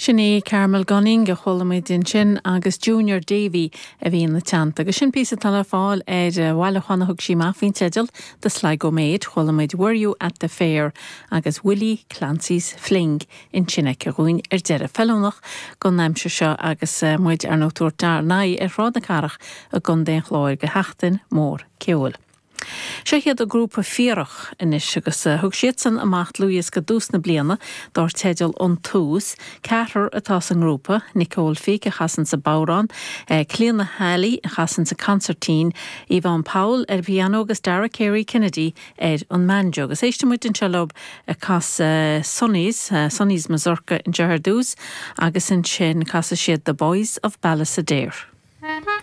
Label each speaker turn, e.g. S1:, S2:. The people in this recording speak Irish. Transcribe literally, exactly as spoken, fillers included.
S1: Sin é Carmel Gunning a chuala muid ansin agus Junior Davy a bhí ina teannta, agus sin píosa atá le fáil ar bhailiúchán a thug sí amach faoin teideal The Sligo Maid chuala muid Were You at the Fair agus Willie Clancy's Fling ansin aici dhúinn ar deireadh feiliúnach don aimsir seo agus eh, muid ar nóúir ná ar Shráid na Cathrach i gContae an Chláir go sheachtain mór ceoil. Seo iad an grúpa Fíorach anois agus eh, thug siadsan amach dlúthdhiosca i dtús na bliana dar teideal An Tús, ceathrar atá sa ngrúpa, Nicole Fick a chasann sa bodhrán, eh, Clíona Halley a chasann sa consairtín, Yvonne Powell ar piano agus Dara Carey Kennedy ar an mbanjo. Agus éistfidh muid anseo leo ag casadh uh, Sonny's, uh, Sonny's Mazurka anseo ar dtús, agus ansin casfaidh siad The Boys of Ballisodare.